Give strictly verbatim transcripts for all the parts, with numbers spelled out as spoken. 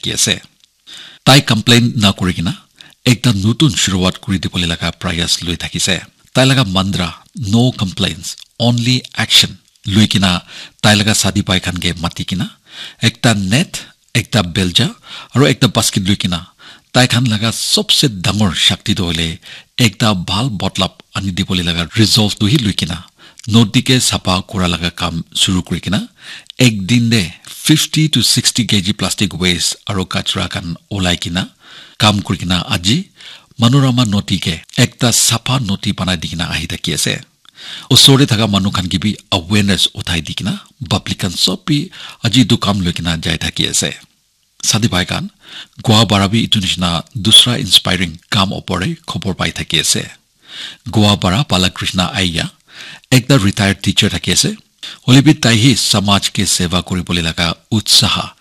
thaki ase. Tai complain na kuri kena ekta nutun shuruwat kuri dibole laga prayas loi thakise. Tai laga mantra, "No complaints, only action," loi kena tai laga sadi bai khan ke mati kena ekta net, ekta belja, aro ekta basket loi kena tai khan laga sobse dangor shakti toh hoile ekta bhal botlap ani dibole laga resolve tu hi loi kena nodi ke sapa kura laga kam shuru kuri kena ek din de fifty to sixty K G plastic waste aro kachra khan olai kena kam kuri kena aji Manorama nodi ke ekta sapa nodi banai di kena ahi thaki ase. Osor te thaka manu khan ke bi awareness uthai di kena public khan sob bi aji etu kam loi kena jai thaki ase. Sadi bhai khan, Goa para bi etu nishina dusra inspiring kam opor te khobor pai thaki ase. Goa para Balakrishna Aiya, ekta retired teacher thaki ase. Hoile bi tai hi samaj ke seva kuribole laga utsaha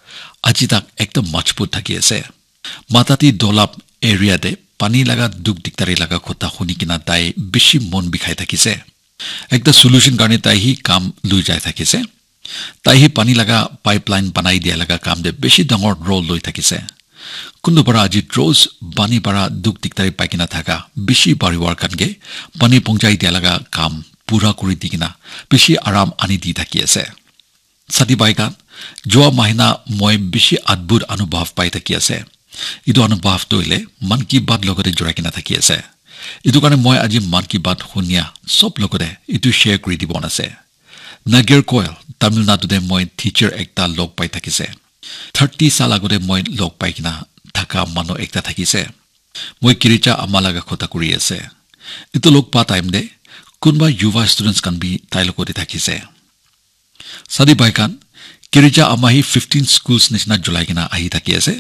aji tak ekdam majbut thaki ase. Matati Dolap area te pani laga duk diktari laga kotha huni kena tai bishi mon bikhai thakise. Ekta solution karne tai hi kam lui jai thakise. Tai hi pani laga pipeline banai dia laga kam te bishi dangor role loi thakise. Kundu para aji rose pani para duk diktari pai kena thaka bishi bariwar khan ke pani pongchai dia laga kam pura kuri di kena bishi aram ani di thaki ase. Sadi bhai khan, jua mahina moi bishi adbhut anubhav pai thaki ase. Etu anubhav tu hoile Mann Ki Baat logote jurai kena thaki ase. Etu karne moi aji Mann Ki Baat hunia sob logote etu share kuri dibo mona ase. Nagercoil, Tamil Nadu te moi teacher ekta log pai thakise. Thirty sal agote moi log pai kena thaka manu ekta thakise. Moi Kirija ama laga kotha kuri ase. Etu log pa time te kunba yuva students khan bi tai logote thakise. Sadi bhai khan, Kirija ama hi fifteen schools nishina julai kena ahi thaki ase.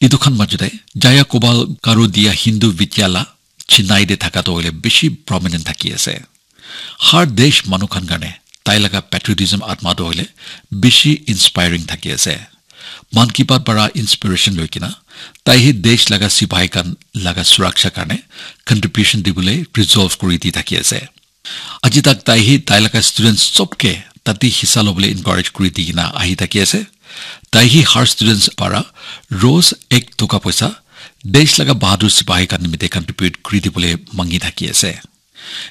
Etu khan majute Jaya Gopal Garu Diya Hindu Vidyalaya Chennai te thaka toh hoile bishi prominent thaki ase. Har desh manu khan karne tai laga patriotism atma toh hoile bishi inspiring thaki ase. Mann Ki Baat para inspiration loi kena tai hi desh laga sipahi khan laga suraksha karne contribution dibole resolve kuri di thaki ase. Aji tak tai hi tai laga students sob ke tate hissa lobole encourage kuri di kena ahi thaki ase. Tai hi har students para rose ek toka poisa desh laga bahadur sipahi khan nimite contribute kuri dibole mangi thaki ase.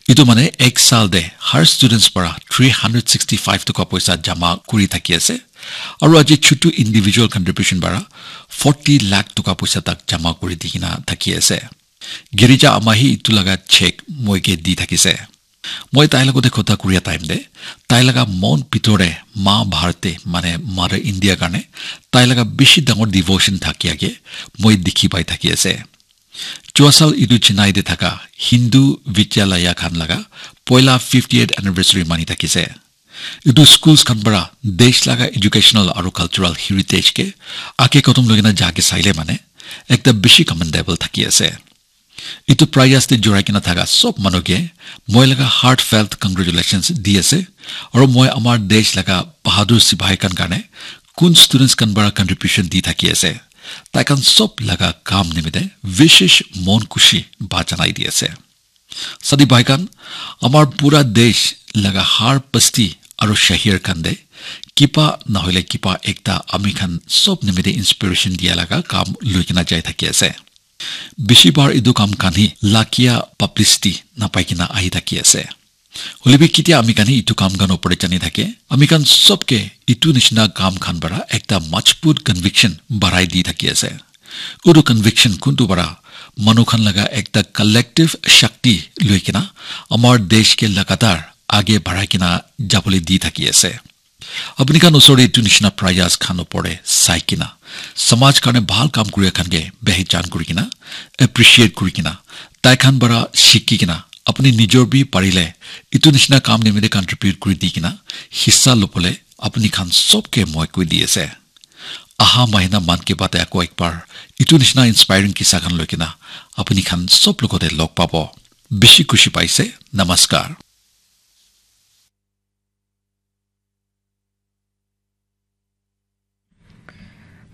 Etu mane ek sal te har students para three hundred sixty five toka poisa jama kuri thaki ase. Aru aji chutu individual contribution para forty lakh toka poisa tak jama kuri di kena thaki ase. Girija ama hi etu laga check moi ke di thakise. Moi tai logote kotha kuria time te tai laga mon bhitor te ma Bharat te mane Mother India karne tai laga bishi dangor devotion thakia ke moi dikhi pai thaki ase. Jua sal etu Chennai te thaka Hindu Vidyalaya khan laga poila fiftieth anniversary mani thakise. Etu schools khan para desh laga educational aru cultural heritage ke age kodom loi kena ja ke saile mane ekta bishi commendable thaki ase. Etu prayas te jurai kena thaka sob manu ke moi laga heartfelt congratulations di ase. Aru moi amar desh laga bahadur sipahi khan karne kun students khan para contribution di thaki ase, tai khan sob laga kam nimite vishesh mon khushi ba janai di ase. Sadi bhai khan, amar pura desh laga har basti aru shahar khan te kiba nahoile kiba ekta ami khan sob nimite inspiration dia laga kam loi kena jai thaki ase. Bishi bar etu kam khan hi lakia publicity napai kena ahi thaki ase. Hoile bi ketia ami khan hi etu kam khan opor te jani thake, ami khan sob ke etu nishina kam khan para ekta majbut conviction barai di thaki ase. Etu conviction kuntu para manu khan laga ekta collective shakti loi kena amar desh ke lagatar age barai kena jabole di thaki ase. Apni khan usor te etu nishina prayas khan opor te sai kena samaj karne bhal kam kuria khan ke behijan kuri kena, appreciate kuri kena, tai khan para shiki kena apni nijor bi parile etu nishina kam nimite contribute kuri di kena hissa lobole apni khan sob ke moi koi di ase. Aha mahina Mann Ki Baat te ako ekbar etu nishina inspiring kissa khan loi kena apni khan sob logote log pabo. Bishi khushi paise. Namaskar.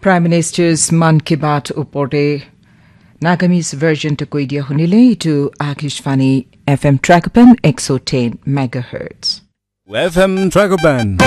Prime Minister's Mann Ki Baat opor te Nagamese version te koi dia hunile itu Akashvani F M Tragopan ek so ten megahertz. F M Tragopan.